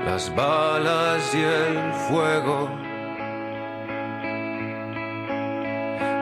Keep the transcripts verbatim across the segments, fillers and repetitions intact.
las balas y el fuego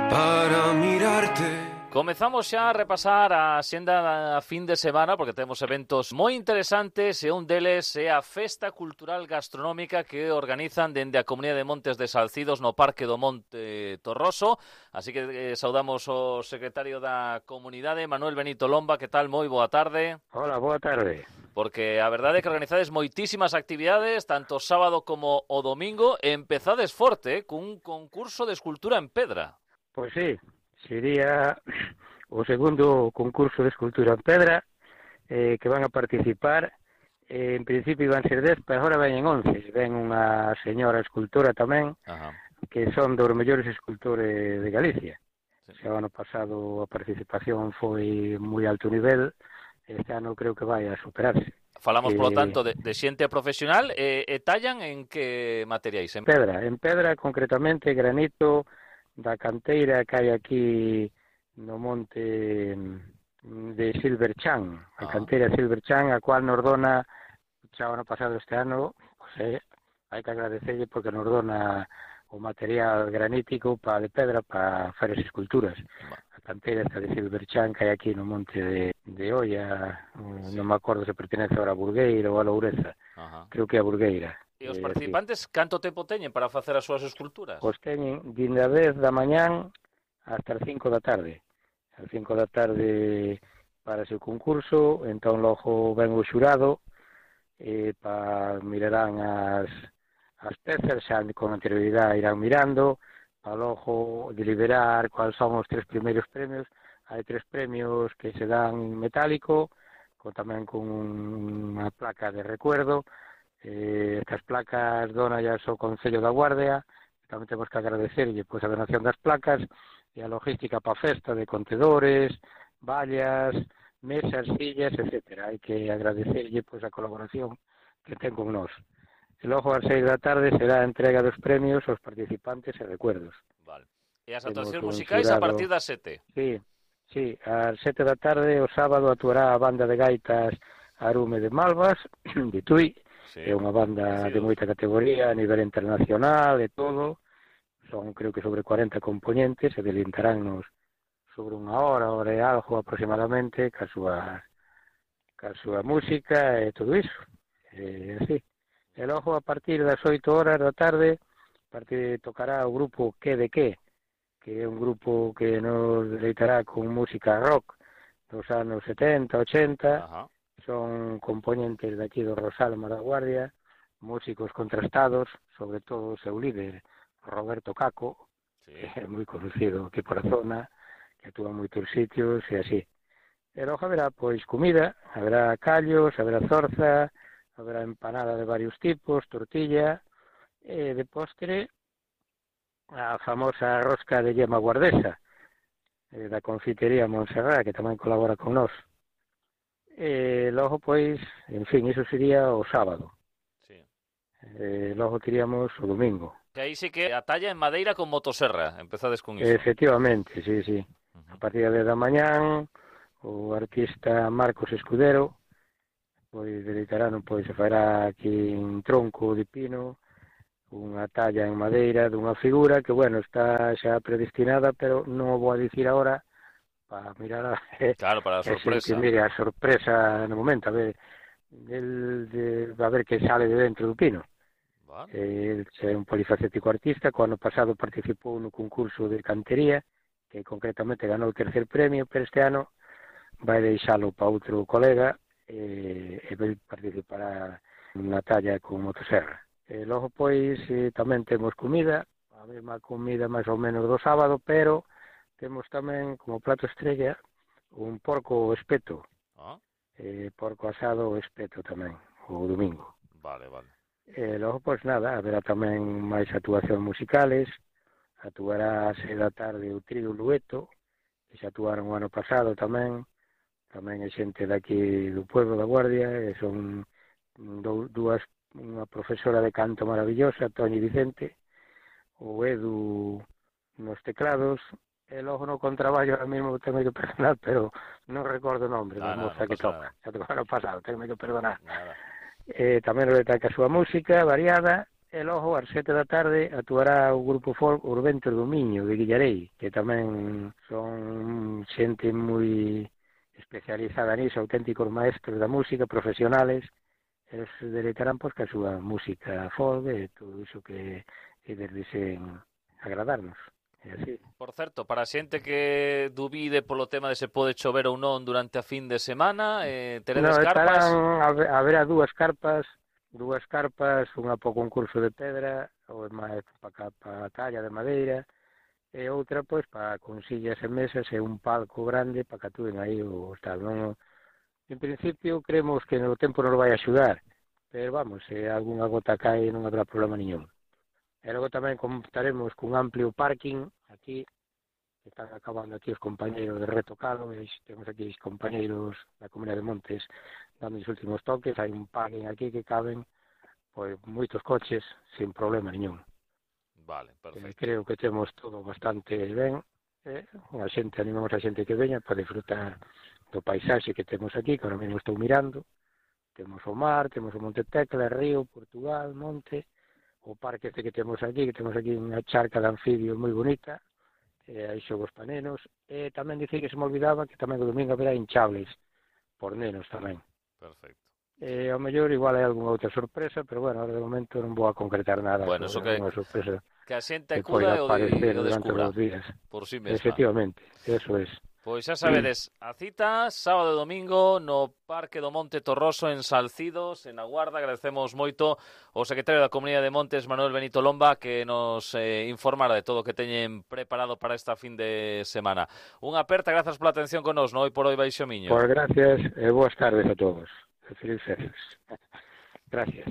para mirarte. Comezamos xa a repasar a xenda a fin de semana porque temos eventos moi interesantes e un deles é a Festa Cultural Gastronómica que organizan dende a Comunidade de Montes de Salcidos no Parque do Monte Torroso. Así que eh, saudamos o secretario da Comunidade, Manuel Benito Lomba. Que tal? Moi boa tarde. Hola, boa tarde. Porque a verdade é que organizades moitísimas actividades, tanto sábado como o domingo, e empezades forte, eh, cun concurso de escultura en pedra. Pois sí, sería o segundo concurso de escultura en pedra eh, que van a participar. Eh, en principio iban ser dez, pero agora veñen once. Ven unha señora escultora tamén, Ajá. que son dos mellores escultores de Galicia. Sí. O ano pasado a participación foi moi alto nivel, este ano creo que vai a superarse. Falamos, eh, polo tanto, de, de xente profesional e, e tallan en que materiais? En pedra, en pedra concretamente, granito da canteira que hai aquí no monte de Silverchan, a ah. canteira Silverchan, a cual nos dona, xa o ano pasado este ano, pues, eh, hai que agradecerlle porque nos dona o material granítico para de pedra para facer as esculturas. A canteira esta de Silverchan que hai aquí no monte de, de Oia, sí. Non me acordo se pertenece ahora a Burgueira ou a Loureza, Ajá. creo que é a Burgueira. E os participantes, eh, canto tempo teñen para facer as súas esculturas? Pois teñen dende a dez da mañán hasta as cinco da tarde. As cinco da tarde para o concurso, entón logo ven o xurado eh, para mirarán as, as pezas, xa con anterioridade irán mirando, para logo deliberar cuáles son os tres primeiros premios. Hai tres premios que se dan en metálico, con, tamén con unha placa de recuerdo. Eh, estas placas donallas o Concello da Guardia, tamén temos que agradecerlle pois, a donación das placas e a logística para a festa de contedores, vallas, mesas, sillas, etcétera. Hai que agradecerlle pois, a colaboración que ten con nós. E logo ás seis da tarde será a entrega dos premios aos participantes e recuerdos. Vale. E as actuacións musicais a partir das sete? Sí, sí, ás sete da tarde o sábado actuará a banda de gaitas Arume de Malvas, de Tui. Sí. É unha banda sí, de moita categoría a nivel internacional e todo. Son, creo que, sobre cuarenta componentes e delintaránnos sobre unha hora, hora e algo aproximadamente, ca súa, ca súa música e todo iso. E así. E logo, a partir das oito horas da tarde, parte tocará o grupo Que de Que, que é un grupo que nos deleitará con música rock dos anos setenta, ochenta. Ajá. Son componentes de aquí do Rosalma da Guardia, músicos contrastados, sobre todo o seu líder, Roberto Caco, sí. que é moi conocido aquí por a zona, que actúa en moitos sitios e así. E logo haberá, pois, comida, haberá callos, haberá zorza, haberá empanada de varios tipos, tortilla, e de postre, a famosa rosca de yema guardesa, da confitería Montserrat, que tamén colabora con nós. E logo, pois, en fin, iso sería o sábado. Sí. E logo teríamos o domingo. Que aí sí que a talla en madeira con motosserra, empezades con iso. Efectivamente, sí, sí. Uh-huh. A partir da mañán, o artista Marcos Escudero, pois, dedicarán, pois, se fará aquí un tronco de pino, unha talla en madeira dunha figura que, bueno, está xa predestinada, pero non o vou a dicir agora, para mirar a, claro, para a sorpresa. Que mire a sorpresa no momento, a ver, el, de, a ver que sale de dentro do pino. Vale. El é un polifacético artista, que o ano pasado participou no concurso de cantería, que concretamente ganou o tercer premio, pero este ano vai deixalo para outro colega e, e vai participar na talla con motosserra. E logo, pois, eh, tamén temos comida, a mesma comida máis ou menos do sábado, pero temos tamén como plato estrella un porco espeto, ah. eh, porco asado o espeto tamén, o domingo. Vale, vale. E logo, pois nada, haberá tamén máis actuacións musicales, actuará a seis da tarde o trío Lueto, que xa actuaron o ano pasado tamén, tamén é xente daqui do pueblo da Guardia, e son dúas, unha profesora de canto maravillosa, Toñi Vicente, o Edu nos teclados, e logo no contraballo ahora mesmo tengo que perdonar, pero non recordo o nombre da moza que toca, xa tocou ano pasado, tengo que perdonar. Nada. E tamén reta que a súa música variada, e logo ás sete da tarde actuará o grupo folk Os Ventos do Miño de Guillarei, que tamén son xente moi especializada nisso, auténticos maestros da música, profesionales. Eles se deleitarán pois que a súa música folk e todo iso que eles desen agradarnos. É así. Por certo, para a xente que dubide polo tema de se pode chover ou non durante a fin de semana, eh, teredes No, carpas? estarán, haberá dúas carpas, dúas carpas, unha para o concurso de pedra, ou máis para pa a talla de madeira, e outra, pois, para con sillas e mesas e un palco grande para que atúen aí o tal. Non, en principio, creemos que no tempo nos vai axudar, pero vamos, se algunha gota cae non habrá problema ningún. E logo tamén contaremos cun amplio parking aquí, que están acabando aquí os compañeiros de retocalo, e temos aquí os compañeiros da Comunidade de Montes dando os últimos toques, hai un parking aquí que caben pois moitos coches sin problema ningún. Vale, perfecto. Eh, creo que temos todo bastante ben, eh, a xente, animamos a xente que veña para disfrutar do paisaxe que temos aquí, que ahora mesmo estou mirando. Temos o mar, temos o Monte Tecla, Río, Portugal, Monte, o parque este que temos aquí, que temos aquí unha charca de anfibios moi bonita, e hai xogos para nenos, e tamén dicir que se me olvidaba que tamén o domingo haberá hinchables por nenos tamén. Perfecto. E ao mellor igual hai algunha outra sorpresa, pero bueno, ahora de momento non vou a concretar nada. Bueno, eso que, sorpresa que a xente acuda e o, de, o descubra por si sí mesma. Efectivamente, eso es. Pois xa sabedes, a cita sábado e domingo no Parque do Monte Torroso en Salcidos, en Aguarda. Agradecemos moito ao secretario da Comunidade de Montes, Manuel Benito Lomba, que nos eh, informara de todo o que teñen preparado para esta fin de semana. Unha aperta, grazas pola atención con nos, no Hoy por Hoy Baixo Miño. Pois gracias e boas tardes a todos. Feliz feliz. Gracias.